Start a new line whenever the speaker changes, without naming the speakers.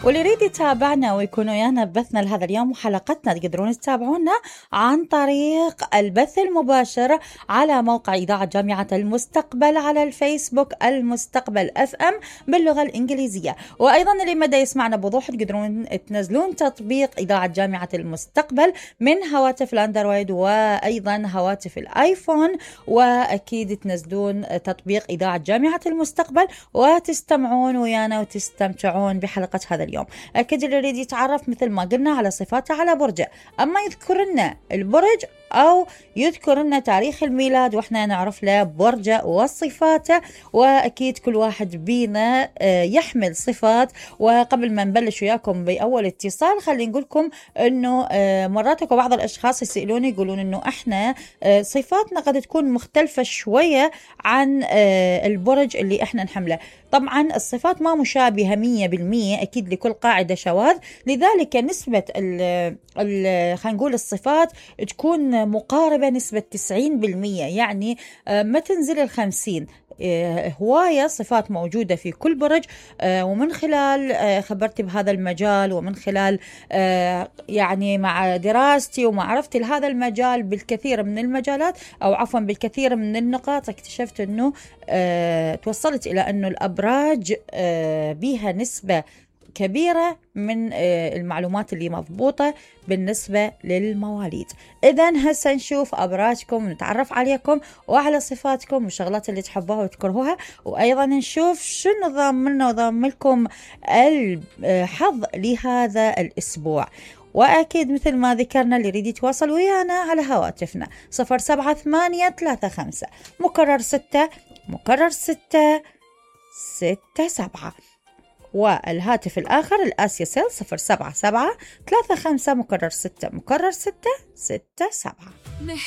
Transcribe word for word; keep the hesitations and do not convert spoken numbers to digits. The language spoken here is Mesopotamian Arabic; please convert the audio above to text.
واللي يريد يتابعنا ويكون ويانا ببثنا لهذا اليوم وحلقتنا تقدرون تتابعونا عن طريق البث المباشر على موقع إذاعة جامعة المستقبل على الفيسبوك المستقبل اف ام باللغة الإنجليزية. وأيضا اللي مدى يسمعنا بوضوح تقدرون تنزلون تطبيق إذاعة جامعة المستقبل من هواتف الأندرويد وأيضا هواتف الآيفون، وأكيد تنزلون تطبيق إذاعة جامعة المستقبل وتستمعون ويانا وتستمتعون بحلقة هذا اليوم. أكيد اللي يريد يتعرف مثل ما قلنا على صفاته على برجه، أما يذكر لنا البرج أو يذكر لنا تاريخ الميلاد وإحنا نعرف له برجه وصفاته، وأكيد كل واحد بينا يحمل صفات. وقبل ما نبلش وياكم بأول اتصال خلي نقولكم أنه مرات اكو بعض الأشخاص يسألوني يقولون أنه إحنا صفاتنا قد تكون مختلفة شوية عن البرج اللي إحنا نحمله. طبعا الصفات ما مشابهة مية بالمية، أكيد لكل قاعدة شواذ، لذلك نسبة خلينا نقول الصفات تكون مقاربة نسبة تسعين بالمية، يعني ما تنزل الخمسين. هواية صفات موجودة في كل برج، ومن خلال خبرتي بهذا المجال ومن خلال يعني مع دراستي ومعرفتي لهذا المجال بالكثير من المجالات أو عفوا بالكثير من النقاط، اكتشفت أنه توصلت إلى أنه الأبراج بها نسبة كبيرة من المعلومات اللي مضبوطة بالنسبة للمواليد. إذن هسه نشوف أبراجكم ونتعرف عليكم وعلى صفاتكم والشغلات اللي تحبوها وتكرهوها، وأيضا نشوف شنو ضاملنا وضاملكم الحظ لهذا الأسبوع. وأكيد مثل ما ذكرنا اللي يريد يتواصل ويانا على هواتفنا صفر سبعة ثمانية ثلاثة خمسة مكرر ستة مكرر ستة ستة سبعة، والهاتف الآخر الآسيا سيل صفر سبعة سبعة ثلاثة خمسة مكرر ستة مكرر ستة ستة سبعة.